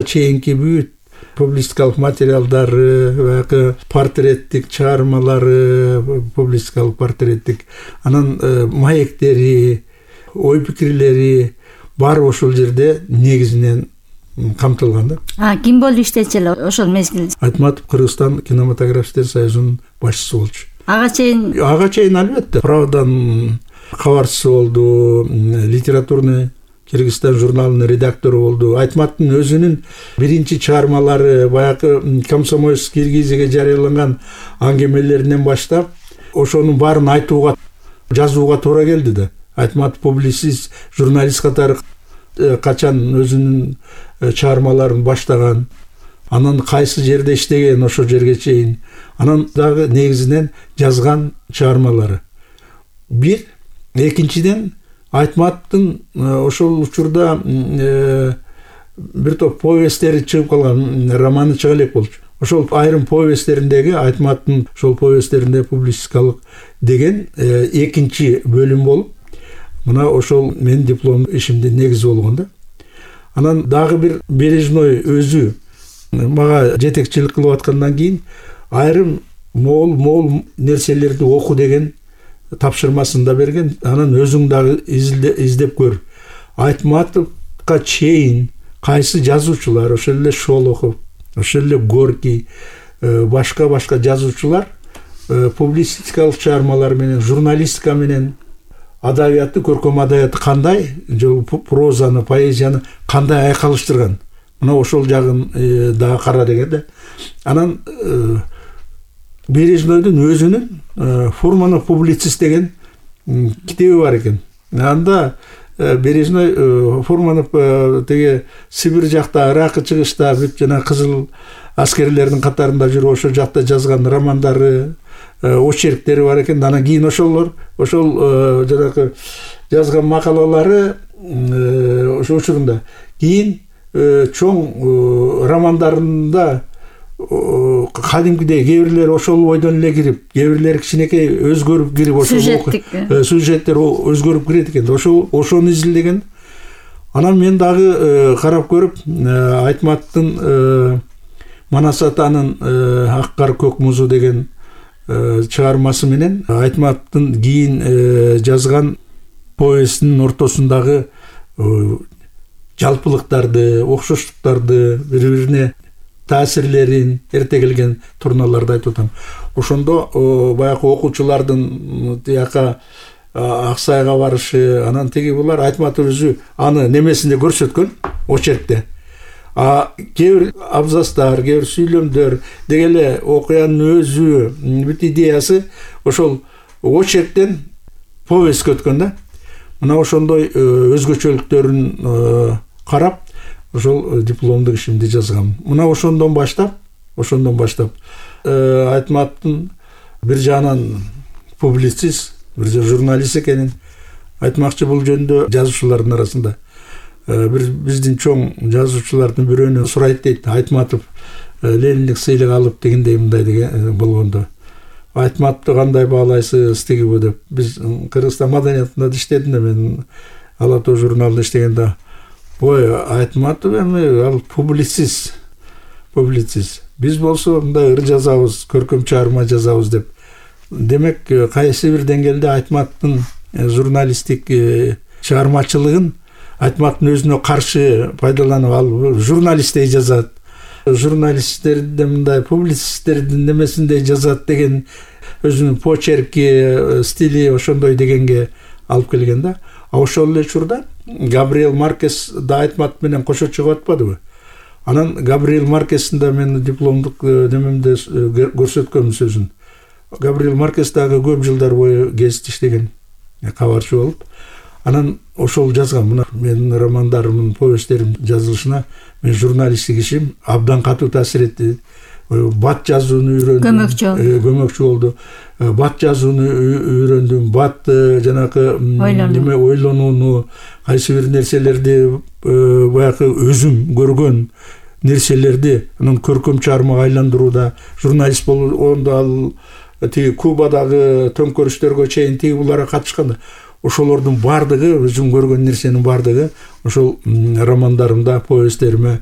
чейинки бүт публистикалык материалдары, баягы портреттик чыгармалары, публистикалык портреттик, анан маектери, ой пикирлери баары ошол жерде негизинен камтылган да. Ким болуп иштечү эле ошол мезгилде? Айтматов Кыргызстан кинематографисттер союзунун башчысы болчу. Ага чейин албетте Правдадан кабарчысы болду, литературный Кыргызстан журналынын редактору болду. Айтматтын өзүнүн биринчи чыгармалары баягы Комсомольский Киргизияга жарыяланган аңгемелеринен баштап ошонун баарын айтууга, жазууга туура келди да. Айтматов публицист, журналист катары качан өзүнүн чыгармаларын баштаган, анан кайсы жерде иштеген ошол жерге чейин, анан дагы негизинен жазган чыгармалары. Бир, экинчиден Айтматтын ошол учурда бир топ повесттери чыгып калган, романы чыга элек болчу. Ошол айрым повесттериндеги Айтматтын ошол повесттеринде публистикалык деген экинчи бөлүм болуп, мына ошол менин диплом ишимдин негизи болгон да. Анан дагы бир Бережной өзү мага жетекчилик кылып аткандан кийин айрым моол нерселерди оку деген тапшырмасын да берген. Анан өзүң дагы издеп көр. Айтматовго чейин кайсы жазуучулар, ошол эле Шолохов, ошол эле Горький, башка жазуучулар публистикалык чыгармалар менен, журналистика менен адабиятты, көркөм адабиятты кандай, прозаны, поэзияны кандай айкалыштырган. Мына ошол жагын дагы кара деген да. Анан Бережнойдун өзүнүн Фурманов публицист деген китеби бар экен. Анда Бережной Фурманов теге Сибир жакта, Иракы чыгышта бүт жана кызыл аскерлердин катарында жүрүп ошол жакта жазган романдары, очерктери бар экен. Анан кийин ошол жанагы жазган макалалары ошо учурунда кийин чоң романдарында кадимкидей кээ бирлери ошол бойдон эле кирип, кээ бирлери кичинекей өзгөрүп кирип, ошол сюжеттер өзгөрүп кирет экен. Ошону изилдеген. Анан мен дагы карап көрүп, Айтматтын Манас атанын Ак кар көк музу деген чыгармасы менен Айтматтын кийин жазган повестинин ортосундагы жалпылыктарды, окшоштуктарды, бири-бирине таасирлерин, эрте келген турналарды айтып атам. Ошондо баягы окуучулардын тияка Аксайга барышы, анан теги булар Айтматов өзү аны немесинде көрсөткөн, очеркте. Кээ бир абзацтар, кээ бир сүйлөмдөр деген эле окуянын өзү, бүт идеясы ошол очерктен повестке өткөн да. Мына ошондой өзгөчөлүктөрүн карап, ошол дипломдук ишимди жазгам. Мына ошондон баштап Айтматтын бир жагынан публицист, бир журналист экенин айтмакчы. Бул жөнүндө жазуучулардын арасында биздин чоң жазуучулардын бирөөнө сурайт дейт. Айтматов Лениндик сыйлык алып дегендей мындай деген болгондо. Айтматовду кандай баалайсыз тигиби деп. Биз Кыргызстан маданиятында иштедим да, мен Ала Тоо журналында иштегенде. Ой, Айтматов эми ал публицист. Биз болсо мындай ыр жазабыз, көркөм чыгарма жазабыз деп. Демек, кайсы бир деңгээлде Айтматтын журналисттик чыгармачылыгын Айтматтын өзүнө каршы пайдаланып, ал журналисттей жазат. Журналисттерди мындай публицисттердин немесиндей жазат деген өзүнүн почерки, стили ошондой дегенге алып келген да. Ошол эле учурда Габриэл Маркес да Айтматов менен кошо чыгып атпадыбы? Анан Габриэл Маркестин да мен дипломдук немемде көрсөткөм сөзүн. Габриэл Маркес дагы көп жылдар бою гезит иштеген, кабарчы болуп. Анан ошол жазган, мына менин романдарымдын, повесттерим жазылышына мен журналисттик ишим абдан катуу таасир этти. Бат жазууну үйрөндүм, көмөкчү болду. Бат жазууну үйрөндүм, бат жанагы неме ойлонууну, кайсы бир нерселерди баягы өзүм көргөн нерселерди анан көркөм чыгармага айландырууда журналист болгондо ал тиги Кубадагы төңкөрүштөргө чейин тиги буларга катышкан. Ошолордун бардыгы, өзүм көргөн нерсенин бардыгы ошол романдарымда, повесттериме